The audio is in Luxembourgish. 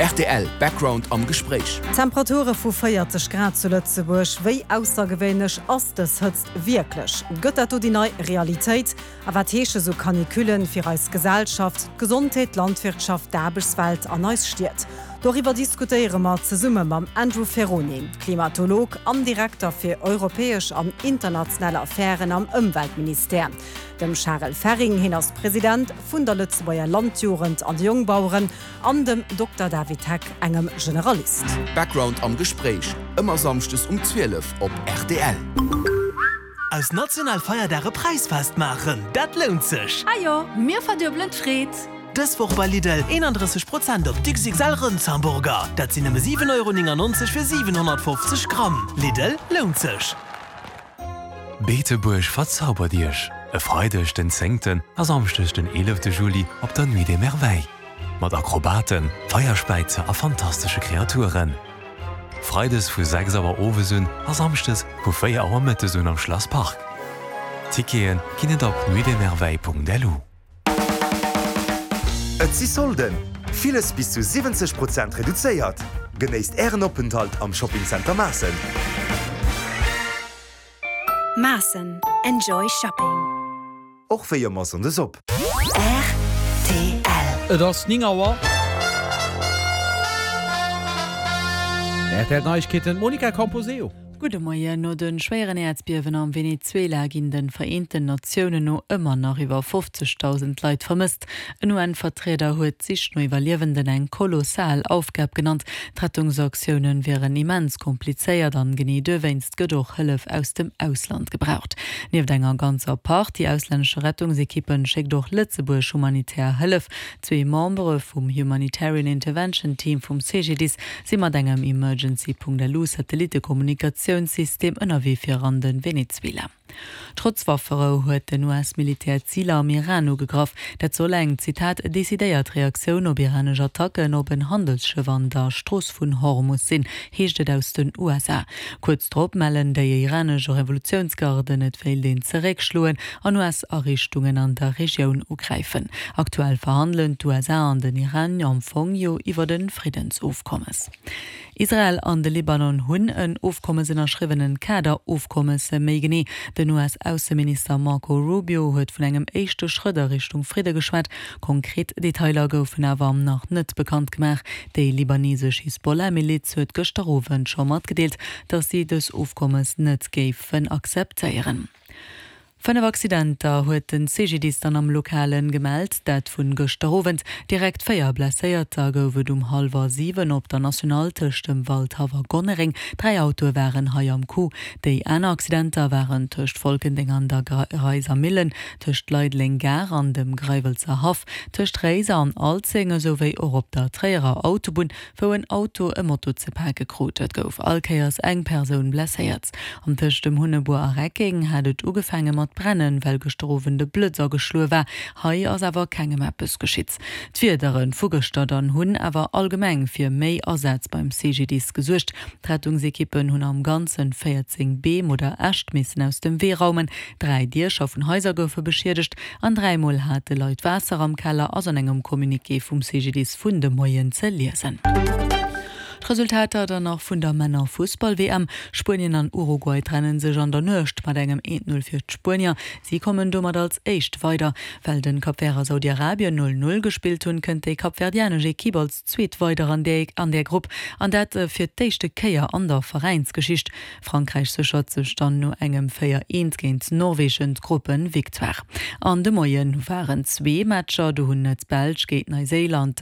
Rtl Background am Gespréich. Temperature vu 40 Grad zu Lëtzebuerg, wéi aussergewéinlech ass dës Hëtzt wierklech? Gëtt dat do déi nei Realitéit? A wat heesche sou Canicullen fir eis Gesellschaft, d'Gesondheet, d'Landwirtschaft, d'Aarbechtswelt an eis Stied? Doriwwer diskutéiere mer zesumme mam Andrew Ferrone, Klimatolog an Direkter fir europäesch an international Affären am Ëmweltministère, dem Charel Ferring, hien ass President vun der Lëtzebuerger Landjugend an de Jongbaueren, an dem Dokter David Heck, engem Generalist. Background am Gespréich, ëmmer samschdes um 12 op rtl. Aus national Feierdag e Präisfest maachen, dat lount sech! Ah jo, mir verduebelen d'Freed! Dës Woch bei Lidl, 31 Prozent op d'XXL Rëndshamburger, dat sinn nëmme 7,99 Euro fir 750 Gramm. Lidl, lount sech! Beetebuerg verzaubert Iech e Freideg den zéngten a Samschdeg den eelefte Juli op der Nuit des Merveilles. Mat Akrobaten, Feierspäizer a fantastesche Kreaturen. Freides vu 6 Auer owes un a Samschdes vu 4 Auer mëttes un am Schlass Park. Tickete ginn et op nuitdesmerveilles.lu. Et si Solden! Villes bis zu 70 Prozent reduzéiert! Genéisst Ären Openthalt am Shopping Center Maassen! Maassen, Enjoy Shopping! Och wéi ëmmer Sonndes op. Rtl. Et ass 9 Auer. Rtl Neiegkeeten, d'Monica Camposeo. Gudde Moien. No de schwéieren Äerdbiewen am Venezuela ginn de Vereenten Natiounen no ëmmer nach iwwer 50.000 Leit vermësst. En UN-Vertrieder huet d'Sich no Iwwerliewenden eng kolossal Aufgab genannt. D'Rettungsaktioune wieren immens komplizéiert an genee duerwéinst gëtt och Hëllef aus dem Ausland gebraucht. Nieft enger ganzer Partie auslännesche Rettungsekippen schéckt och Lëtzebuerg humanitär Hëllef. Zwee Membere vum Humanitarian Intervention Team vum CGDIS si mat engem Emergency.lu Satellittekommunikatiounssystem ënnerwee fir an de Venezuela. Trotz Wafferou huet den US-Militär Ziler am Iran ugegraff. Dat soll eng, Zitat, decidéiert Reaktioun op iranesch Attacken op en Handelsschëff an der Strooss vun Hormus sinn, heescht et aus den USA. Kuerz drop mellen déi iranesch Revolutiounsgarden, et wéilt een zeréckschloen an US-Ariichtungen an der Regioun ugräifen. Aktuell verhandelen d'USA an den Iran am Fong jo iwwert e Friddensofkommes. Israel an de Libanon hunn en Ofkommes ënnerschriwwen, en Kader-Ofkommes méi genee. Den US-Ausseminister Marco Rubio huet vun engem éischte Schrëtt a Richtung Fridde geschwat. Konkret Detailer goufen awer nach net bekannt gemaach. Déi libanesesch Hisbollah-Miliz huet gëschter Owend scho matgedeelt, datt si dës Ofkommes net géifen akzeptéieren. 5 Accidenter huet den CGDIS dann am Lokalen gemellt, dat vun gëschter Owend. Direkt 4 Blesséierter gouf et um hallwer 7 op der Nationale tëscht dem Waldhaff a Gonnereng. 3 Autoe waren hei am Coup. Déi aner Accidenter waren tëscht Folkendeng an der Reiser Millen, tëscht Leideleng Gare an dem Greiwelzer Haff, tëscht Réiser an Alzeng esouwéi och op der Tréierer Autobunn wou en Auto e Moto ze pake krut. Et gouf all Kéiers eng Persoun blesséiert. An tëscht dem Hunnebuer a Reckeng hat et ugefaange mat brennen, well gëschter Owend e Blëtz ageschloe war. Hei ass awer kengem eppes geschitt. D'Wiedere vu gëschter dann hunn awer allgemeng fir méi Asätz beim CGDIS gesuergt. D'Rettungsekippen hunn am Ganzen 14 Beem oder Äscht missen aus dem Wee raumen, 3 Diecher vun Haiser goufe beschiedegt an 3 Mol hate Leit Waasser am Keller, ass an engem Communiqué vum CGDIS vun de Moien ze liesen. D'Resultater dann nach vun der Männer-Fussball-WM, Spuenien an Uruguay trenne sech an der Nuecht mat engem 1, 0 fir d'Spuenier. Si kommen domat als éischt weider. Well den Cap Vert a Saudi-Arabien 0, 0 gespillt hunn, kënnt déi kapverdianesch Ekipp als zweet weider an där Grupp an dat fir d'éischte Kéier an der Veräinsgeschicht. Frankräich séchert sech dann no engem 4, 1 géint Norwegen d'Gruppe-Victoire. An de Moie waren zwee Matcher, do hunn d'Belsch géint Neiséiland.